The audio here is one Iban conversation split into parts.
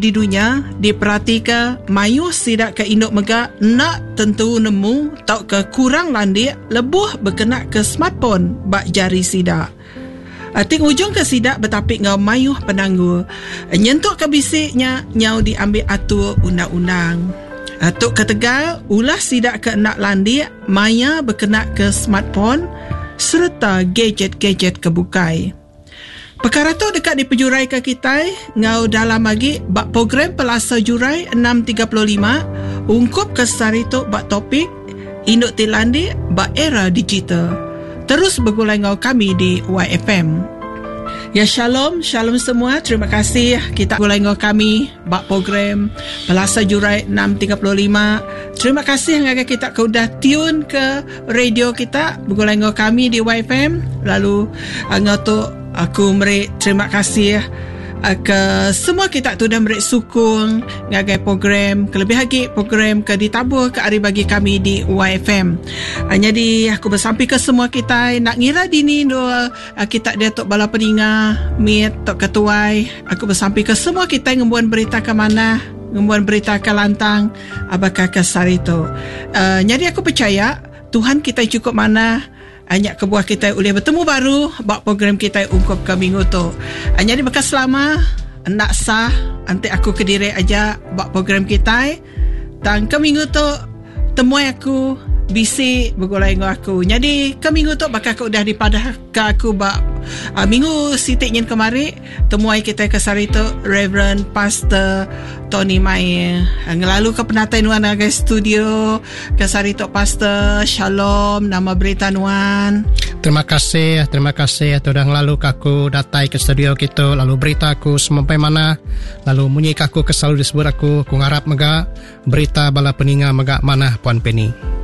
Di dunya, diperatika mayuh sida ke indu mega enda tentu nemu tauka kurang landik lebuh bekenaka smartphone ba jari sida. Ti ngujungka sida betapi enggau mayuh penanggul nyentukka bisi nya nyau diambi atur undang-undang. Tu ketegal ulah sida ke enda landik maya bekenaka smartphone sereta gajet-gajet ke bukai. Pekara tu deka dipejuraika kitai enggau dalam agi ba program Pelasa Jurai 6.35 ungkup ke sehari tu ba topik Indu ti Landik ba Era Digital. Terus begulai enggau kami di YFM. Ya shalom, shalom semua. Terima kasih kita begulai enggau kami ba program Pelasa Jurai 6.35. Terima kasih ngagai kita ke udah tune ke radio kita begulai enggau kami di YFM lalu ah, enggau tu aku meri terima kasih ah, ke semua kita tu udah meri sukung ngagai program kelebih agi program ke ditabur ke ari bagi kami di YFM. Ah, jadi aku besampi ke semua kita nak ngira dini dua kita dia tu bala peninga mit tok ketuai aku besampi ke semua kita ngembuan berita ke manah ngembuan berita ke lantang Baka ke sehari tu. Nyadi aku pechaya Tuhan kitai chukup manah nya kebuah kitai ulih betemu baru ba program kitai ungkup ke minggu tu. Nyadi baka selama enda sah enti aku kediri aja ba program kitai tang ke minggu tu temuai aku bisi begulai enggau aku. Nyadi ke minggu tu baka ke udah dipadahka aku ba minggu siti nyin kemari Temuai kitai ke sehari tu Reverend Pastor Tony Maie. Ngelalu ke penatai nuan ngagai studio ke sehari tu Pastor. Shalom, nama berita nuan? Terima kasih, terima kasih tu dah ngelalu ke aku datai ke studio kitu lalu berita aku semampai manah lalu munyi ke aku ke selalu disebut aku, aku ngarap mega Berita bala peninga mega manah Puan Penny.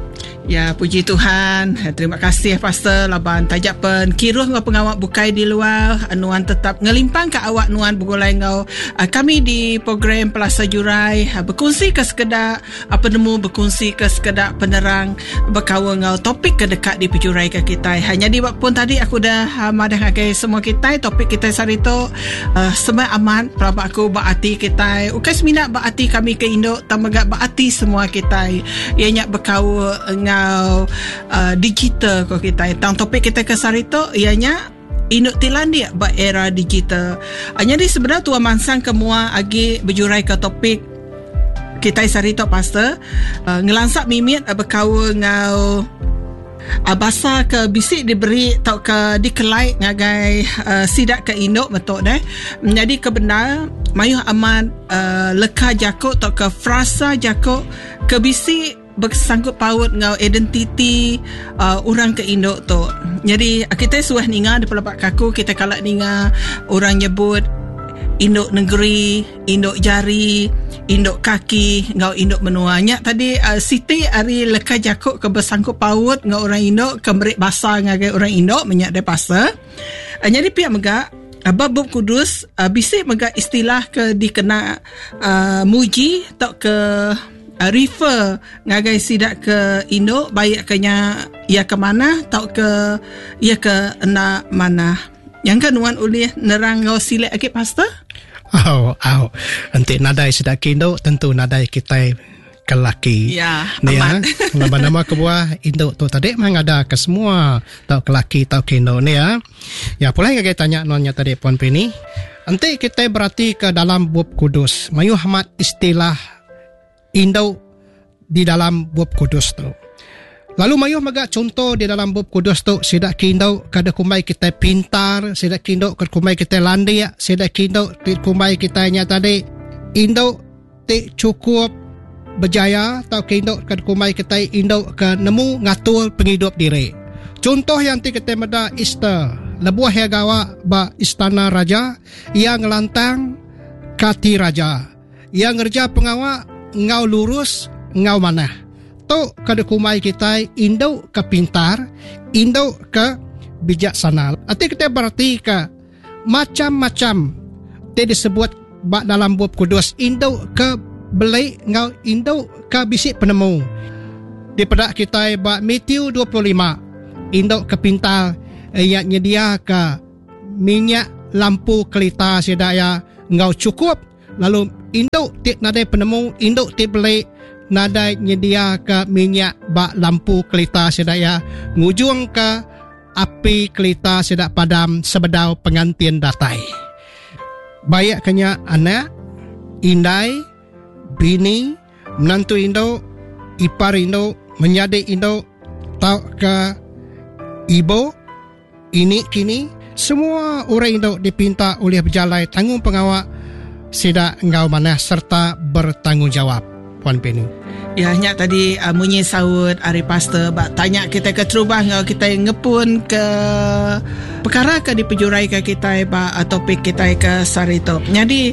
Ya, puji Tuhan. Terima kasih Pastor laban taja pen kiruh enggau pengawa bukai di luar, nuan tetap ngelimpangka awak nuan begulai enggau ah, kami di program Pelasa Jurai ah, bekunsi ke sekeda ah, penemu bekunsi ke sekeda penerang bekaul enggau topik ke deka dipejuraika kitai. Ha, nyadi ba pun tadi aku udah madah ngagai semua kitai topik kitai sehari tu Semak amat pelaba aku ba ati kitai ukai semina ba ati kami ke indu tang mega ba ati semua kitai iya nya bekaul enggau uh, digital ko kitai. Tang topik kitai ke sehari tu iya nya indu ti landik ba era digital. Uh, nyadi sebenar tua mansang ke mua agi bejurai ke topik kitai sehari tu pastor uh, ngelansa mimit uh, bekaul enggau Basa ke bisi diberi tauka dikelai ngagai sida ke indu metu deh. Nyadi ke bendar mayuh amat leka jaku tauka frasa jaku ke bisi besangkut paut enggau identiti orang ke indu tu. Nyadi kitai suah ninga dipelaba ke aku kitai kala ninga orang nyebut indu negeri. Indu jari, indu kaki enggau indu menua. Nya tadi uh, siti ari leka jaku ke besangkut paut enggau orang indu ke meri basa ngagai orang indu menya deh pastor. Uh, nyadi pia mega uh, ba Bup Kudus uh, bisi mega istilah ke dikena uh, muji tauka uh, refer ngagai sida ke indu baik ke nya iya ke manah tauka iya ke enda manah. Nyangka nuan ulih nerang enggau silik agi pastor? Au, au. Enti nadai sida ke indu tentu nadai kitai ke laki. Ya, Ni, amat. Ya. Laban nama kebuah indu tu tadi mah ngada ke semua tau ke laki tau ke indu ni ya. Ya pulai ngagai tanya nuan nya tadi Puan Penny. Enti kitai berati ke dalam Bup Kudus, mayuh amat istilah indu di dalam Bup Kudus tu. Lalu mayuh mega chunto di dalam Bup Kudus tu sida ke indu ke dikumbai kitai pintar, sida ke indu ke dikumbai kitai landik, sida ke indu ti dikumbai kitai nya tadi indu ti chukup berjaya tauka indu ke dikumbai kitai indu ke nemu ngatur pengidup diri. Chunto iya enti kitai meda Ester lebuh iya gawa ba istana raja, iya ngelantang ka ati raja. Iya ngereja pengawa enggau lurus enggau manah. Tu ke dikumbai kitai indu ke pintar, indu ke bijaksana. Enti kitai beratika macham-macham ti disebut ba dalam Bup Kudus indu ke beli enggau indu ke bisi penemu. Dipeda kitai ba Matthew 25, indu ke pintar iya nyediaka minyak lampu kelita sida iya enggau chukup. Lalu Indu ti nadai penemu, indu ti beli nadai nyediaka minyak ba lampu kelita sida iya ngujungka api kelita sida padam sebedau pengantin datai. Baik ke nya anak, indai, bini, menantu indu, ipar indu, menyadi indu tauka ibu, Ini kini, semua orang indu dipinta ulih bejalai tanggungpengawa sida enggau manah sereta bertanggungjawap. Puan Penny. Ya, nya tadi uh, munyi saut ari pastor ba tanya kita ke terubah enggau kita ngepun ke perkara ke dipejurai ke kita ba uh, topik kita ke sehari tu. Jadi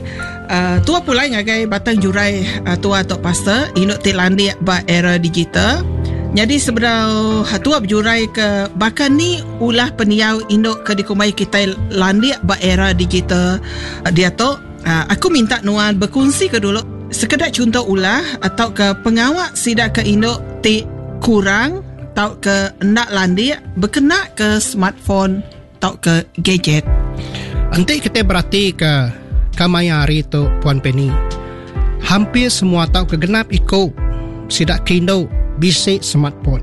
uh, tua pulai ngagai batang jurai uh, tua tu pastor indu ti landik ba era digital. Nyadi sebedau tua bejurai ke baka ni ulah pendiau indu ke dikumbai kitai landik ba era digital diatu, aku minta nuan bekunsi ke dulu sekeda chunto ulah tauka pengawa sida ke indu ti kurang tauka enda landik bekena ke smartphone tauka gadget. Enti kitai beratika kemaya hari tu Puan Penny, hampir semua tauka genap iku sida ke indu bisi smartphone.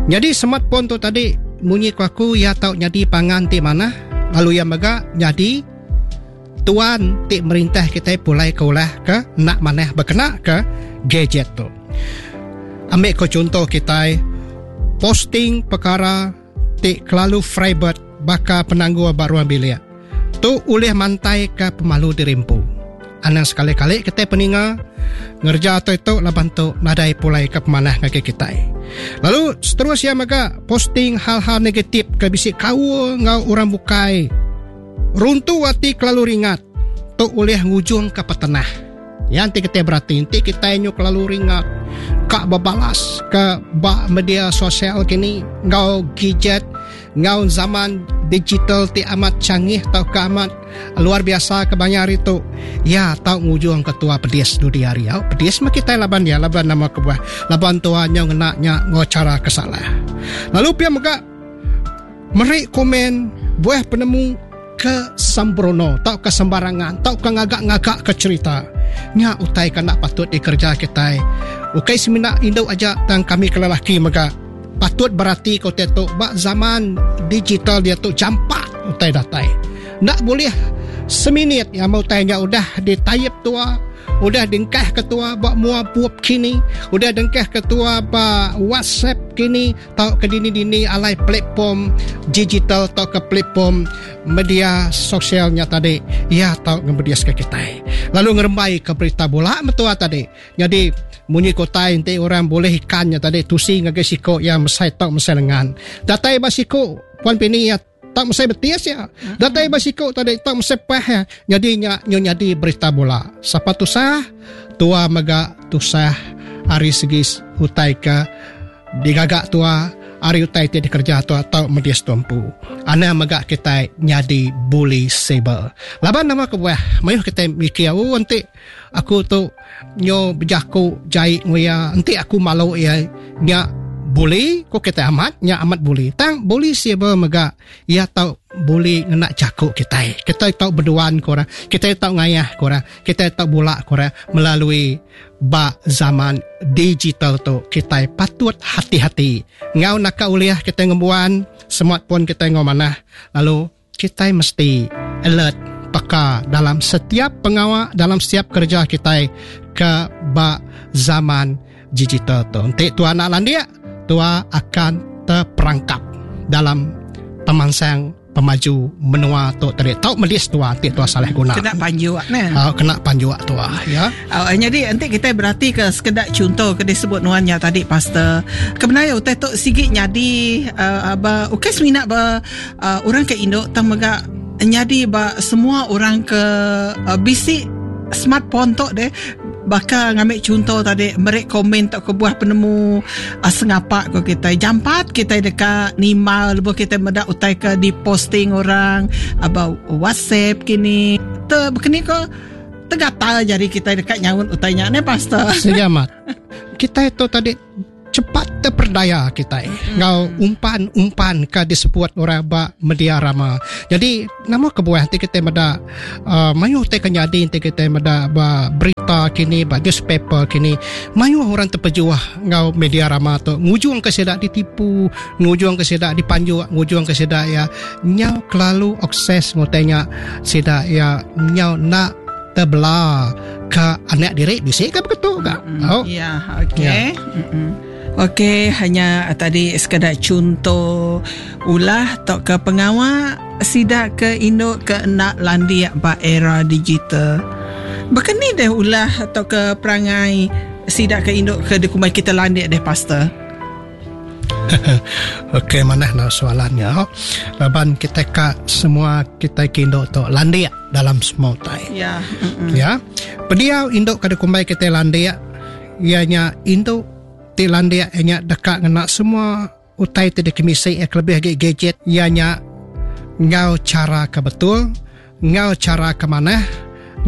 Nyadi smartphone tu tadi munyi ku aku iya tau nyadi pangan ti manah lalu iya mega nyadi tuan ti merintah kitai pulai ke ulah ke enda manah bekena ke gadget tu. Ambi ko chunto kitai posting pekara ti kelalu private baka penanggul ba ruang bilik. Tu ulih mantaika pemalu diri empu. Anang sekali-kali kitai peninga ngereja utai tu laban tu nadai pulai ke pemanah ngagai kitai. Lalu seterus iya mega posting hal-hal negatif ke bisi kaul enggau orang bukai. Runtu ati kelalu ringat tu ulih ngujungka petenah. Ya enti kitai berati enti kitai nyu kelalu ringat ka bebalas ke ba media sosial kini enggau gadget enggau zaman digital ti amat canggih tauka amat luar biasa ke maya hari tu iya tau ngujung ke tua pedis dudi hari au pedis meh kitai laban iya laban nama kebuah laban tua nyau ngena nya enggau chara ke salah lalu pia mega Meri komen buah penemu ke sembrono tauka sembarangan tauka ngaga-ngaga ke cherita. Nya utai ke enda patut dikereja kitai. Ukai semina indu aja tang kami ke lelaki mega patut berati ke utai tu ba zaman digital diatu jampat utai datai. Enda bulih seminit nyama utai nya udah ditaip tua Udah dengkah ke tua ba mua bup kini, udah dengkah ke tua ba WhatsApp kini tauka dini-dini alai platform digital tauka platform media sosial nya tadi, iya tau ngemediska kitai. Lalu ngerembai ke berita bula metua tadi. Nyadi munyi ke utai enti orang bulih ikan nya tadi tusi ngagai siko iya mesai tau mesai lengan. Datai ba siko Puan Pini iya Tak mesai betis ya. Datai ba siku tadi tak mesai pah ya. Nyadi nya nyu nyadi berita bula. Sapa tusah? Tua mega tusah ari segi utai ke digaga tua ari utai ti dikereja tua tau medis tua empu. Anang mega kitai nyadi bully cyber. Laban nama kebuah mayuh kitai mikir oh enti aku tu nyu bejaku jai enggau iya enti aku malu iya nya bully ku kitai amat nya amat bully tang bully siber mega iya tau bully ngena jaku kitai kitai tau beduan ku orang kitai tau ngayah ku orang kitai tau bula ku orang melalui ba zaman digital tu kitai patut hati-hati enggau naka ulih kitai ngembuan smartphone kitai enggau manah lalu Kitai mesti alert, peka dalam setiap pengawa, dalam setiap kereja kitai ke ba zaman digital tu. Enti tua enda landik, tua akan terperangkap dalam pemansang pemaju menua tu tadi. Tau medis tua enti tua salah guna. Kena panjuk neh. Uh, kena panjuk tua ya. Uh, jadi enti kitai berati ke sekeda chunto ke disebut nuan nya tadi pastor. Kebenar utai tu sigi nyadi uh, ba ukai semina ba uh, orang ke indu tang mega nyadi ba semua orang ke uh, bisi smartphone tu deh baka ngambil contoh tadi meri komen tau ke buah penemu uh, sengapa ko kita jampat kita deka nimbal lebuh kita meda utai ke diposting orang about WhatsApp kini te bekeni ko tegatal jari kita deka nyaut utai nya ne pastor Segi amat. Kita tu tadi cepat. Terperdaya kitai enggau umpan-umpan ke disebut orang ba media rama. Jadi nama kebuah enti kitai meda uh, mayuh utai ke nyadi enti kitai meda ba berita kini ba newspaper kini mayuh orang terpejuh enggau media rama tu ngujung ke sida ditipu, ngujung ke sida dipanjuk, ngujung ke sida iya nyau kelalu obses ngutai nya sida iya nyau enda tebela ke anak diri bisi ke begitu ga. Mm-hmm. Oh. Ya, okey. Ya. Mm-hmm. Okey, hanya tadi sekeda chunto ulah atau ke pengawa sida ke indu ke enda landik ba era digital. Baka ni deh ulah atau ke perangai sida ke indu ke dikumbai kita landik deh pastor? Okey manah nak soalannya. Laban kita ka semua kita ke indu tu landik dalam semua utai. Ya. Ya. Pendiau indu ke dikumbai kita landik ianya indu ti landik ianya deka ngena semua utai ti dikemisi iya kelebih agi gadget ianya enggau cara ke betul, enggau cara ke manah,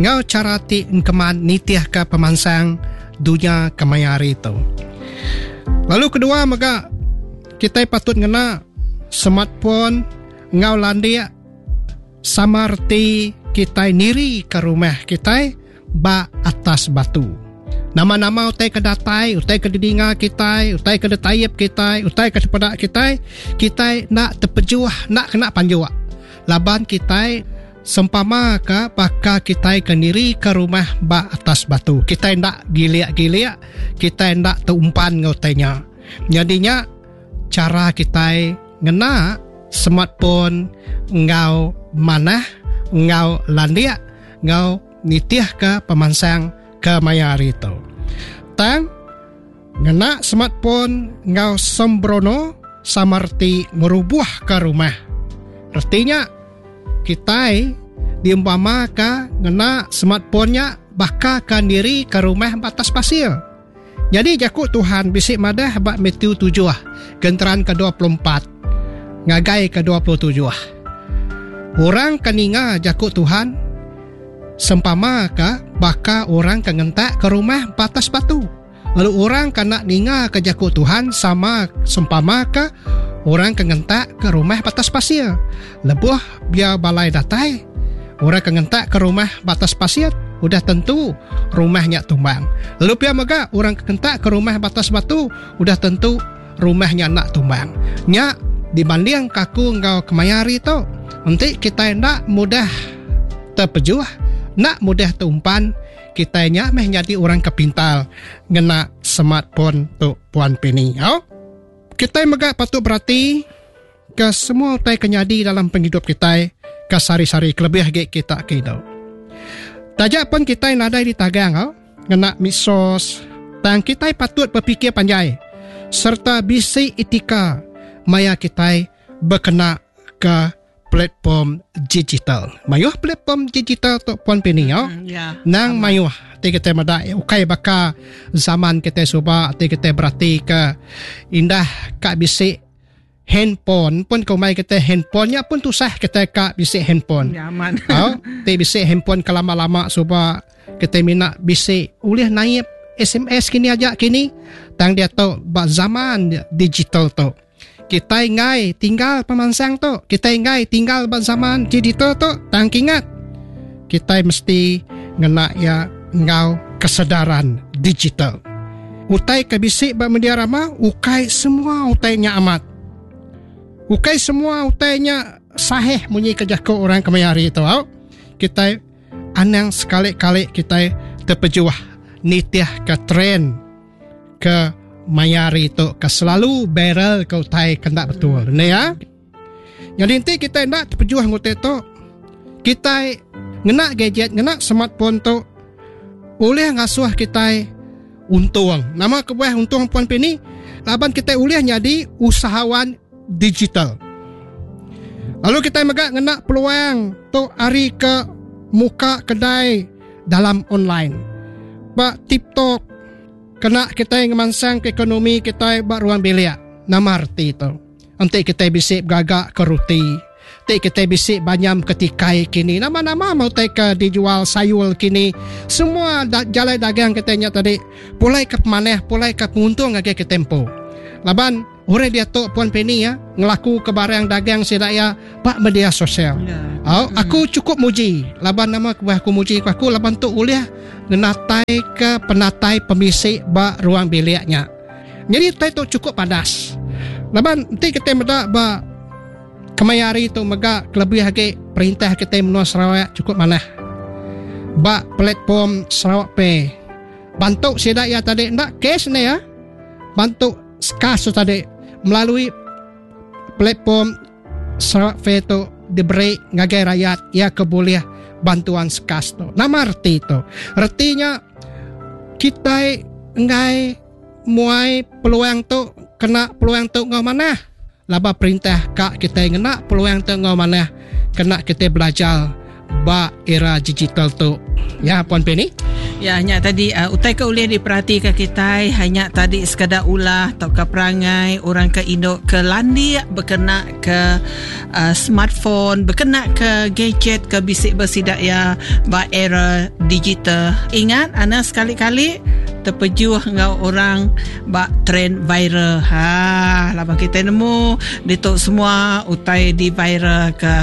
enggau cara ti engkeman nitihka pemansang dunya kemaya hari tu. Lalu kedua mega kitai patut ngena smartphone enggau landik sama reti kitai nirika rumah kitai ba atas batu. Nama-nama utai ke datai, utai ke didinga kitai, utai ke ditaip kitai, utai ke dipeda kitai, kitai enda tepejuh, enda kena panjuk. Laban kitai sempama ke baka kitai ke nirika rumah ba atas batu. Kitai enda gilik-gilik, kitai enda teumpan enggau utai nya. Nyadi nya chara kitai ngena smartphone enggau manah, enggau landik, enggau nitihka pemansang ke maya hari tu. Tang, ngena smartphone enggau sembrono sama reti ngerubuhka rumah. Reti nya, kitai diumpamaka ngena smartphone nya baka ke nirika rumah ba atas pasir. Nyadi jaku Tuhan bisi madah ba Matthew tujuh genteran ke 24 ngagai ke 27. Orang ke ninga jaku Tuhan sempama ke baka orang ke ngentak ke rumah ba atas batu. Lalu orang ke enda ninga ke jaku Tuhan sama sempama ke orang ke ngentak ke rumah ba atas pasir. Lebuh bia balai datai, orang ke ngentak ke rumah ba atas pasir udah tentu rumah nya tumbang. Lalu pia mega orang ke ngentak ke rumah ba atas batu udah tentu rumah nya enda tumbang. Nya dibanding ka aku enggau kemaya hari tu, enti kitai enda mudah tepejuh, enda mudah teumpan, kitai nya meh nyadi orang ke pintar ngena smartphone tu Puan Pini. Au. Kitai mega patut berati ke semua utai ke nyadi dalam pengidup kitai ke sehari-sehari kelebih agi kita ke indu. Taja pun kitai nadai ditagang au ngena medsos tang kitai patut bepikir panjai sereta bisi etika maya kitai bekena ke platform digital. Mayuh platform digital tu Puan Pini au. Mm, ya. Nang mayuh ti kitai meda ukai baka zaman kitai suba ti kitai berati ke indah ka bisi handphone pun ke umai kitai handphone nya pun tusah kitai ka bisi handphone. Ya, aman. Au, ti bisi handphone ke lama-lama suba kitai mina bisi ulih naip SMS kini aja kini tang diatu ba zaman digital tu. Kitai enggai tinggal pemansang tu. Kitai enggai tinggal ba zaman digital tu. Tang kingat, kitai mesti ngena iya enggau kesedaran digital. Utai ke bisi ba media rama ukai semua utai nya amat. Ukai semua utai nya sahih munyi ke jaku orang kemaya hari tu au. Kitai anang sekali-kali kitai tepejuh nitihka trend ke maya hari tu ke selalu viral ke utai ke enda betul. Ne ya. Nyadi enti kitai enda tepejuh nguti tu, kitai ngena gadget, ngena smartphone tu ulih ngasuh kitai untung. Nama kebuah untung Puan Pini? Laban kitai ulih nyadi usahawan digital. Lalu kitai mega ngena peluang tu ari ke muka kedai dalam online. Ba TikTok kena kitai ngemansangka ekonomi kitai ba ruang bilik. Nama reti tu? Enti kitai bisi begaga ke ruti, ti kitai bisi banyam ke tikai kini, nama-nama meh utai ke dijual sayur kini, semua da jalai dagang kitai nya tadi pulai ke pemanah, pulai ke penguntung ngagai kitai empu. Laban orang diatu Puan Penny ya ngelaku ke barang dagang sida ya ba media sosial. Ya. Au, aku cukup muji laban nama kebuah aku muji ku aku laban tu ulih ngenatai ke penatai pemisi ba ruang biliknya. Jadi utai tu cukup padas. Laban enti kita meda ba kemaya hari tu mega kelebih agi perintah kita menua Sarawak cukup manah. Ba platform Sarawak Pay. Bantu sida ya tadi ndak cash ni ya. Bantu skas tu tadi melalui platform Sarawak Pay tu diberi ngagai rakyat ia ke boleh bantuan skas tu. Nama reti tu? Retinya kita enggai muai peluang tu kena peluang tu ngau manah. Laba perintah kak kita ngena peluang tu ngau manah kena kita belajar ba era digital tu. Ya Puan Penny. Ya, nya tadi uh, utai ke ulih diperhatikan kita hanya tadi sekadar ulah atau ke perangai orang ke induk ke landik berkena ke uh, smartphone, berkena ke gadget ke bisik bersidak ya ba era digital. Ingat anda sekali-kali terpejuh enggau orang ba trend viral. Ha, lama kita nemu ditu semua utai di viral ke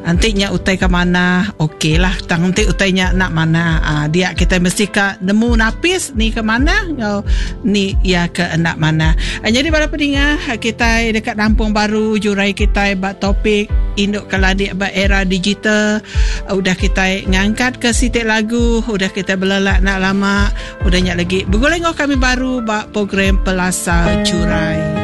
Enti nya utai ke manah, okey lah. Tang enti utai nya nak manah, ah, dia kita mesti ka nemu napis ni ke manah enggau ni ia ke enda manah. Ah, jadi bala peninga, kita dekat nampung baru jurai kita ba topik induk ke landik ba era digital. Udah kita ngangkat ke sitik lagu, udah kita belelak nak lama, udah nya lagi begulai ngau kami baru ba program Pelasar Jurai.